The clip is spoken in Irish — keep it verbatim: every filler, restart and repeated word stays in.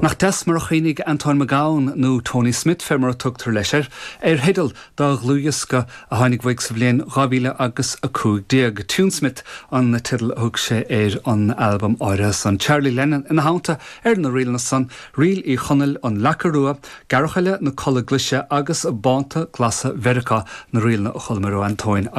Nach deas mar a chuimhnigh Antóin Mac Gabhann nó Tony Smith fé mar a tugtar leis air, ar theideal dá dhlúthdhiosca a tháinig uaidh sa bhliain dhá mhíle agus a cúig déag. Tunesmith an teideal a thug sé ar an albam áirithe san. Charlie Lennon ina theannta ar na ríleanna san, Ríl Uí Chonaill an Leaca Rua, Gearrchaile na Colla Glaise agus Bánta Glasa Mheiriceá na ríleanna a chualamar ó Antóin